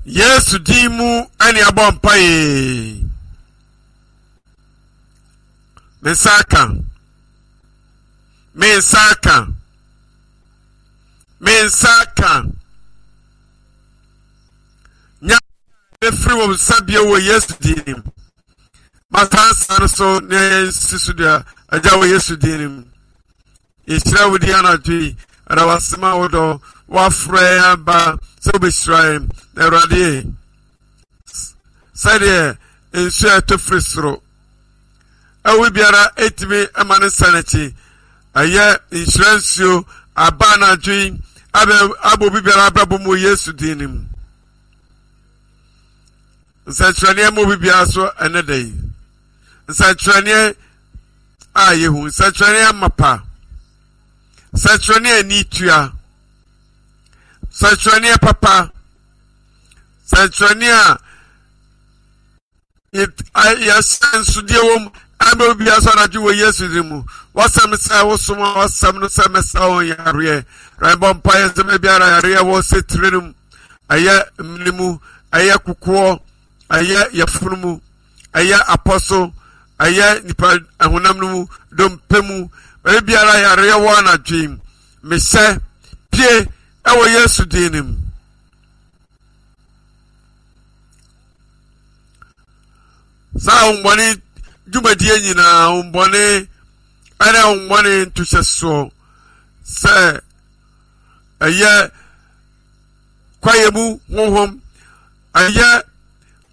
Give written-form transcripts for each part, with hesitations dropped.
Yesu din mu ɛne abɔ mpaeɛ. Me nsa aka. Me nsa aka. Me nsa aka. Nya bɛfiri wɔn nsa bio wɔ Yesu din mu. Masa nsa no so na yɛnsi so dua agya wɔ Yesu din mu. Yɛhyira wo din anadwo yi, ɛda wase ma wo dɔ, woafrɛ yɛn aba sɛ wobɛhyira yɛn. Na Awurade, sɛdeɛ nsuo a ɛtɔ firi soro ɛwo biara ɛtumi ma ne nsa n'akyi ɛyɛ nhyira nsuo aba anadwo yi abɛ obi biara abrabɔ mu wɔ Yesu din no mu. Nsɛnkyerɛnneɛ ma obi biara so ɛnɛ da yi. Nsɛnkyerɛnneɛ a yɛhu, nsɛnkyerɛnneɛ amapa, nsɛnkyerɛnneɛ ani tua, nsɛnkyerɛnneɛ papa, nsɛnkyerɛnneɛ a yɛhyɛ wɔ mu ɛma obi biara so anadwo wɔ Yesu din mu. Wasɛm sɛ wosom a wasɛm no sɛ mɛsa wɔn yareɛ. Rɛbɔ mpaeɛ sɛ baabiara yareɛ wɔ sɛ tire no mu. ɛyɛ mene mu, ɛyɛ kokoɔ, ɛyɛ yafunu mu, ɛyɛ apɔ so, ɛyɛ nipa ɛhonam no mu, dompe mu, baabi biara yareɛ wɔ anadwo yi, mehyɛ pie ɛwɔ Yesu din no mu. Saa ahombɔne dwumadie nyinaa, ahombɔne ɛne ahombɔne ntohyɛsoɔ sɛ ɛyɛ kwaeɛ mu honhom ɛyɛ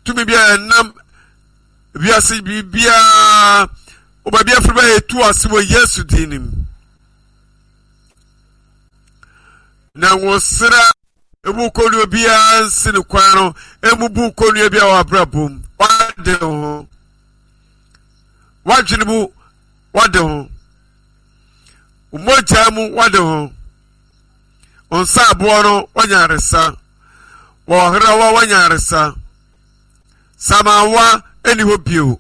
tumi bi a ɛnam wiase biribiara wobaabi afiri bɛyɛ etu ase wɔ Yesu din no mu na nwosra emu kɔnnua biara nsi ne kwan no emu bu kɔnnua bi a wɔ abrabɔ mu wade ho wadwene mu wade ho mogya mu wade ho nsa aboɔ no wanya aresa wɔherawa wanya aresa samawa ɛni hɔ bio.